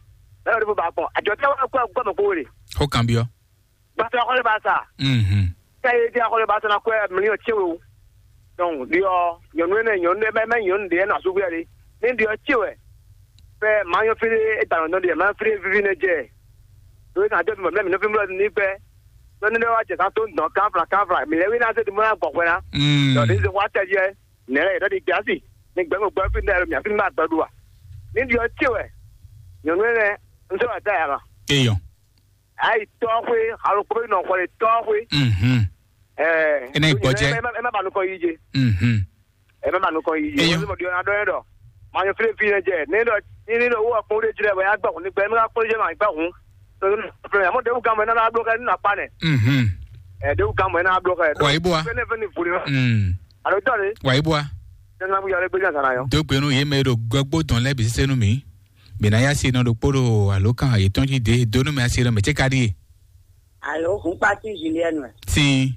bɛ lɔ de bo ba gbɔn, ajɔ tɛ wa kwɛ gbɔ mɛ ko wele. Xɔ kan biɔ. Gbàtà akɔlẹ̀ bá sà. Mhm. Kẹ́yẹ dí akɔlẹ̀ bá sà náà kọ́ ẹ̀ mílíọ̀nù tí o. Donc, diɔ nyɔnu ene nyɔnu ɖe mɛ mɛ nyɔnu ɖe nɔ asúgbé ɖe. Ní diɔ tí wɛ. Fɛ maa nyɔ fí ɖé e ta nɔ dɔn ɖe maa fí ɖé vivi ne jɛ. Ɖo e kan jɔ mi mɔ mi nɔ fi mlɔ ní gbɛ. Tɔ ní ɖe wa jɛ kan tó dɔn kan fla kan fla. Mi lɛ wi na se ti mo na gbɔ xwɛ na. Mm. Dɔ ní se wa tɛ jɛ. Nɛ lɛ yɛ dɔ di gbɛ asi. Ní gbɛ ŋo gbɛ fi ne mi afi ma gbɛ ɖu wa. Ní diɔ tí wɛ. Nyɔnu ene n sɛ wa da ya kan. Eyɔn. Ayi tɔxwé, alokpo bɛ nɔ xɔ ɖe tɔxwé. Mhm. Ɛɛ. Ena yi gbɔjɛ. Ɛ ma ba nukɔn yi je. Mhm. Ɛ ma ba nukɔn yi je. Eyo. Wọ́n ti mọ̀ di ọ̀nà dɔn yẹn dɔ. Maa nyɔ fílẹ̀ fílẹ̀ jẹ. Ne dɔ ní ní dɔ wọ́n kpɔn wúlé jilẹ̀ bọ̀ yá gbà kún ní gbẹ́ mi ká kpɔn jẹ ma gbà kún. Fúnmi àmọ́ dẹ́wù kan mọ̀ ẹ́ náà blọ́kẹ́ nínú àpá nẹ̀. Mhm. Ɛ dẹ́wù kan mọ̀ ẹ́ náà blọ́kẹ́. Wà á yí bó wa. Fẹ́nẹ́ fẹ́nẹ́ fòlì wọn. Mm. Àlọ́ tọ́ de. Wà á yí bó wa. Sẹ́nà kúyà lé gbé jàǹsà náà yọ. Dógbénu yé mɛ ɖo gbɛgbó dɔn lɛ bisi senu mi. Bena ya si nɔ ɖokpo ɖo alo kan yetɔn ji de donu mɛ asi nɔ mɛ tse ka ɖie. Alo, hun kpati Julienne wɛ. Sin.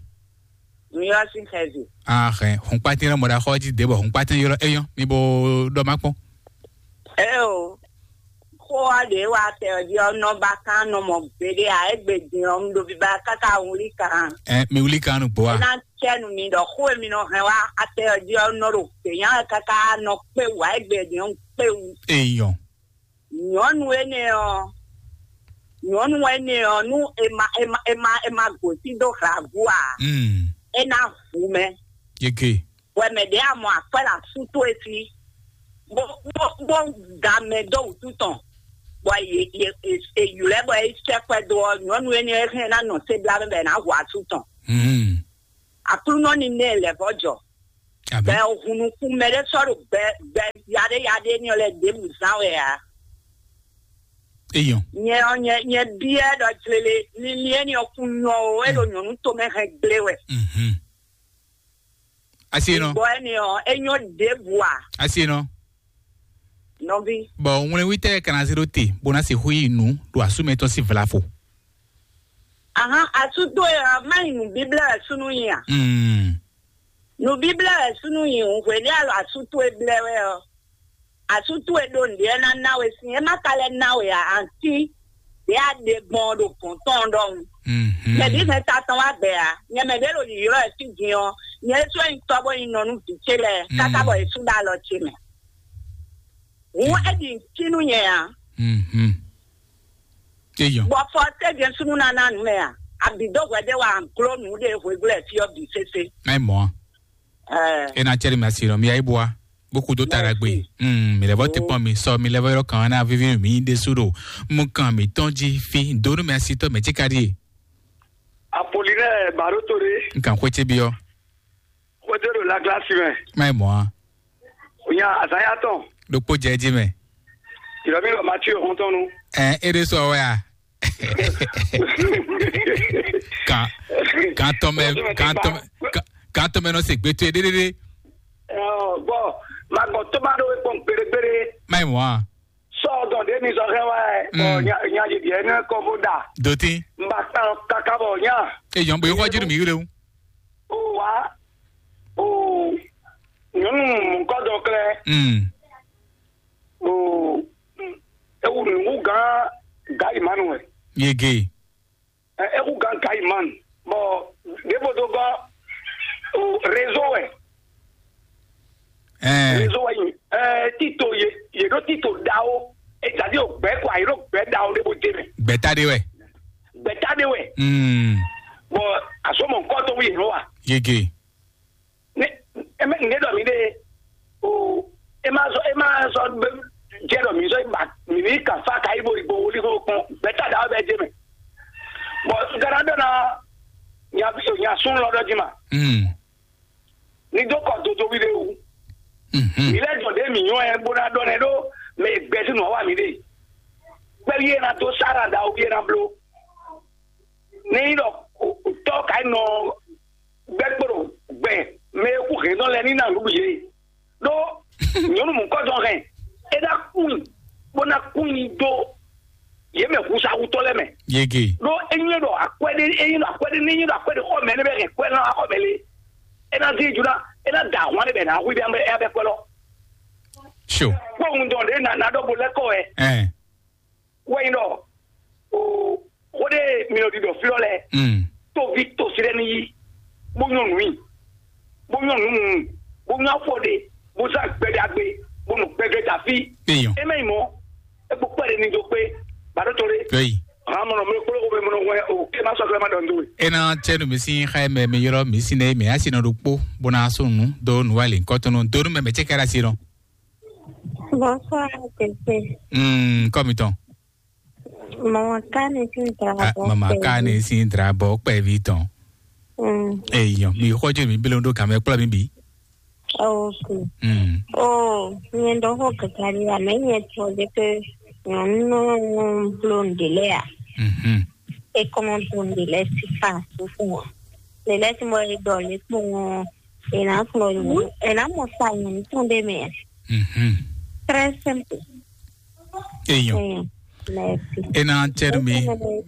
Mi yɔ si xɛvi. Ahɛ, hun kpati nɔ mɔ ɖa xɔ ji de bɔ hun kpati yɔrɔ eyɔn mi bo ɖɔ ma kpɔn. Eo, xó ɔ́ ɖě wa tɛ ɔ́ jí ɔ́ nɔ ba kán nɔ mɔ gbeɖé ǎ, égbé din ɔ́, un ɖo biba káká wlí kan. Ɛ, mi wlí kan nugbo a? É ná cɛ nu mi ɖɔ xó e mi nɔ hɛn wá atɛ ɔ́ jí ɔ́ nɔ ɖo gběnya wɛ káká nɔ kpé wú, ǎ, égbé din ɔ́, un kpé wú. Eyɔn. Nyɔ̌nu énɛ́ ɔ́, nyɔ̌nu énɛ́ ɔ́, nú è ma è ma è ma è ma gǒsín dó hlagu ǎ, Mm. É ná hu mɛ. Gege. Wɛ mɛ ɖě a mɔ akwɛ́ ɖo asú towe sí, bó bó bó da mɛ dó wǔtu tɔn, bɔ yě yě yě ylɔ́ bɔ é sɛ́ kwɛ́ dó ɔ́, nyɔ̌nu énɛ́ hɛn ná nɔ sé blá mɛ bɔ è nǎ hu asú tɔn. Hmm. Aklúnɔ ní nɛ lɛ̌ vɔ́ jɔ. Bɛ Amen. Hun nukún mɛ ɖé sɔ́ ɖo gbɛ gbɛ yaɖé yaɖé ní ɔ́ lɛ ɖěbǔ zán wɛ ǎ. Eyɔn. Nyɛ ɔ́, nyɛ nyɛ byɔ́ ɖɔ jlele linlin éní ɔ́ kún nyɔ o, é ɖo nyɔ̌nu tomɛ hɛn gblé wɛ. Mhm. Asi nɔ. Bɔ ɛni ɔ́, é nyɔ ɖěbǔ a? Asi nɔ. Nɔví. Bɔ ŋwlɛnwítɛ́ ka ná zé ɖó te bó ná sixú yi nǔ ɖo asúmɛ tɔn sín vlafo. Ahan, asú towe ɔ́, má yi nǔ bíblɛ́ wɛ súnnu nyi a? Mm. Nǔ bíblɛ́ wɛ súnnu nyi hǔn hweɖé alɔ asú towe blɛ́ wɛ ɔ́, asú towe ɖo nǔɖé ná ná we sín, é má ka lɛ́ ná we ǎ, antí ɖě a ɖe gbɔn ɔ́ ɖo gɔ̌n tɔn ɔ́ ɖɔhun. Mhm. Mɛ bǐ hɛn ta tɔn wá gbɛ ǎ, nyɛ mɛ ɖě ɖo yǐylɔ́ wɛ fí din ɔ́, nyɛ ɖésú wɛ nyí tɔ́ bó nyí nɔ nú vǐ ce lɛ́ɛ, káká bɔ yě sú ɖó alɔ ce mɛ. Hǔn é ɖi nǔ cí nú nyɛ ǎ. Mhm. Eyɔn. Bɔ fɔ tɛ́ jɛ́n súnnu ná ná nǔ mɛ a? Abǐ dó hwɛɖé wa gló nǔ ɖé hweglɔ́ fí ɔ́ bǐ sésé. Má yi mɔ̌ a? Ɛɛ. É ná cɛ́ ɖi mɛ asi nɔ, mi yá yi bua. Bó kú dó ta ɖagbe. Merci. Mm, mi lɛ́ vɔ te kpɔn mi sɔ, mi lɛ́ vɔ yɔrɔ kan ná vivi mi ɖésú ɖo. Mú kan mi tɔn jí fi, dó nú mi asi tɔ mɛ cí ka ɖíe. Apolinɛ Baɖótole. N kan xwé ce byɔ́. Xwédo ɖo Laglasi mɛ. Má yi mɔ̌ a? Nya azǎn ya tɔn. Ɖokpó jɛ jí mɛ. Ìlɔ mi lɔ Matthew xɔntɔn nu. Ɛ é ɖé sɔ wɛ a? Kan kan tɔmɛ kan tɔmɛ kan- kan tɔmɛ nɔ se gbɛtɔ ɖéɖéɖé. Bɔn ma gbɔ tó ma ɖo ekpɔn gbeɖegbeɖe. Má yi mɔ̌ a? Sɔ dɔn ɖe mi sɔ xɛ wa ɛ. Bɔn nya nya yɛ biɛ ne kɔ fo da. Doti. N ba kpan kaka bɔ nya. Ejɔn bo yi xɔ jiri mi yi le o. O wa o nyɔnu mɔkɔ dɔ klɛ. Mm. O ewu nugu gan gayi manu wɛ. Yege. Ɛ, ewu gan gayi manu. Bɔn ɖevo do gɔ o réseau wɛ. Ɛɛ. Réseau wɛ yi. Ɛ tito ye ye ɖo tito dawo. Etadi o gbɛ kɔ ayi ɖo gbɛ dawo ɖe bo de mɛ. Gbɛta ɖe wɛ. Gbɛta ɖe wɛ. Mm. Bɔn asɔmɔ nkɔ to wi yɛ wa. Yege. Ne eme ne ɖɔ mi ɖe o e ma sɔ e ma sɔ be jɛ ɖɔ mi sɔ ba mi ni kan fa ka yi bo igbo wuli ko kpɔn gbɛta da bɛ jɛ mɛ. Bɔn gara dɔ na nya nya sun lɔ dɔ ji ma. Mm. Ni do kɔ dodo wi de wu. Mhm. Mi lɛ dɔ de mi nyɔ ɛ bo na dɔ nɛ ɖo mɛ gbɛ ti nɔ wa mi de. Gbɛ wi e na do sara da o wi e na blo. Ne yi dɔ tɔ ka yi nɔ gbɛ kpo ɖo gbɛ mɛ e kú hɛn dɔ lɛ ní na nǔɖuɖu yě. Ɖó nyɔnu mɔ̌kɔ́dɔn hɛn é ná kún bó ná kún nyi dó yě mɛ húnsáhútɔ́ lɛ́ɛ mɛ. Yege. Ɖó é nyí ɖɔ akwɛ́ ɖé é nyí ɖɔ akwɛ́ ɖé ní nyí ɖɔ akwɛ́ ɖé xɔ mɛ ní bɛ hɛn kwɛ́ ná xɔ mɛ lé. É ná dín juna é ná da ahwan ɖé bɛ ná hu bɛ ɛ bɛ kwɛ́ lɔ. Sure. Kpɔ́ un dɔn ɖé na na ɖɔ bo lɛ́ kɔ wɛ. Ɛn. Wɛ nyí ɖɔ o xó ɖé mi nɔ ɖiɖɔ fí lɔ lɛ. Mm. Tóvi tosi ɖé ní yí bó nyɔ́ nǔ yí bó nyɔ́ nǔ mu bó nyɔ́ afɔ ɖe bó zán gbɛɖagbe bó nɔ gbɛgbɛ da fí. Eyɔn. É mɛ nyí mɔ é kpó kpɛɖe ní dó kpé bàdó tó ɖé. Eyi. Hàn mɔnɔ mi kpló xó mi mɔnɔ wɛ o ké má sɔgblɛ má ɖɔ nú we. Ena tsɛnu mi sin xa mɛ mi yɔrɔ mi sin ne mi asi nɔ ɖo kpó bó ná sún nu do nu wa le nkɔtɔnu do nu mɛ mɛ tse kɛra si nɔ. Bonsoir, Tete. Mm, kɔmi tɔn. Mama Kane sin drabɔ. Ah, mama Kane sin drabɔ kpɛvi tɔn. Mm. Eyɔn mi xɔjú mi bílẹ̀ ń dó kàmẹ́ kplɔ́ mi bì. Ok. Mm. Oh, nyɛ ɖɔ xɔ kakari a mɛ nyɛ tɔ de ke nyɔnu nɔ bló ŋɖe lɛ a. Mhm. E kɔmɔ bló ŋɖe lɛ si fa sufu a. Le lɛ si mɔ e dɔ le kpɔn e na kplɔ nyɔnu e na mɔ sa nyɔnu tɔn de mɛ. Mhm. Très simple. Eyɔn. Eyɔn. Merci. Ena tsɛnu mi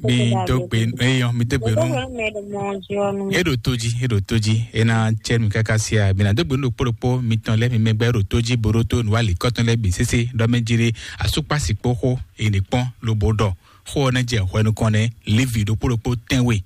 mi dogbe eyɔn mi dogbe nu. Eɖo toji eɖo toji ena tsɛnu kaka sia mi na dogbe nu ɖokpo ɖokpo mi tɔn lɛ mi mɛgbɛ eɖo toji boɖo to nu ali kɔtɔn lɛ bi sese ɖɔ mɛ jire asukpasi kpo xo ene kpɔn lobo ɖɔ xo ne jɛ hwɛ nukɔn ne livi ɖokpo ɖokpo tɛnwe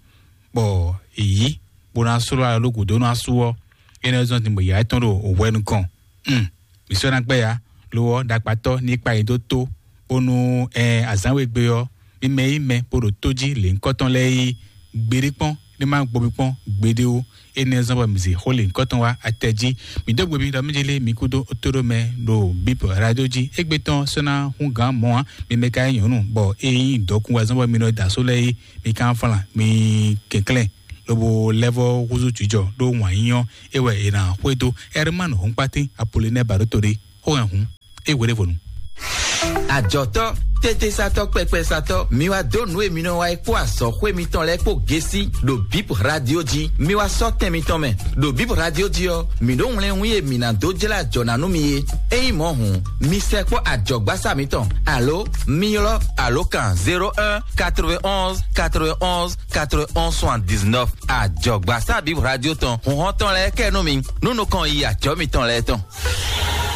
bɔ èyí bó ná slɔ́ alɔ ló gǔdo nú asú ɔ́, énɛ́ zɔ́n din bɔ yǎ tɔn ɖo hwɛ nukɔn. Mm. Mǐ sɔ́ ná gbɛ́ ya, lo ɔ́, ɖakpatɔ́ ní kpa nyi dó tó, bónú ɛ azǎn we gbe ɔ́, mí mɛ yí mɛ bó ɖo tó jí lěhunkɔ́tɔn lɛ́ɛ yí gbeɖé kpɔ́n, ní má gbɔ mi kpɔ́n gbeɖé ó. Énɛ́ zɔ́n bɔ mi zi xó lěhunkɔtɔn wá atɛ jí. Mi dó gbe mi ɖɔ mí jélé mi kúdó tóɖó mɛ ɖo bíp radio jí. Égbé tɔn sɔ́ ná hún gǎn mɔ̌ ǎ. Mi mɛ ka nyí nyɔ̌nu bɔ é nyí dɔkun wá zɔ́n bɔ mi nɔ da só lɛ́ɛ é. Mi ka flan mi kɛnklɛ́n lobo lɛ́vɔ húzú jǐjɔ ɖó wǎn nyínyɔ́. É wɛ è nǎ xwedó. Ɛrmán Hɔnkpátín Apolinɛ Baɖótoɖé xó hɛn hǔn. É wě ɖěvo nu. Àjɔtɔ́, tétésatɔ́, kpɛkpɛsatɔ́, mi wá dó nǔ e mi nɔ wa é kpó azɔ̌xwé mitɔn lɛ́ɛ kpó gésí ɖo bíp radio jí. Mi wá sɔ́ tɛn mitɔn mɛ ɖo bíp radio jí ɔ́, mǐ ɖó wlɛ́nwún e mǐ ná dó jlá ajɔ̌ ná nú mi é. Ényí mɔ̌ hǔn, mi sɛkpɔ́ ajɔ̌gbásá mitɔn, alo mi ylɔ́ alǒkan zéro un quatre-vingt-onze quatre-vingt-onze quatre-vingt-onze soixante-dix-neuf. Ajɔ̌gbásá bíp radio tɔn, hǔnhɔ́n tɔn lɛ́ɛ kɛ nú mi, nú nukɔn yi ajɔ̌ mitɔn lɛ́ɛ tɔn.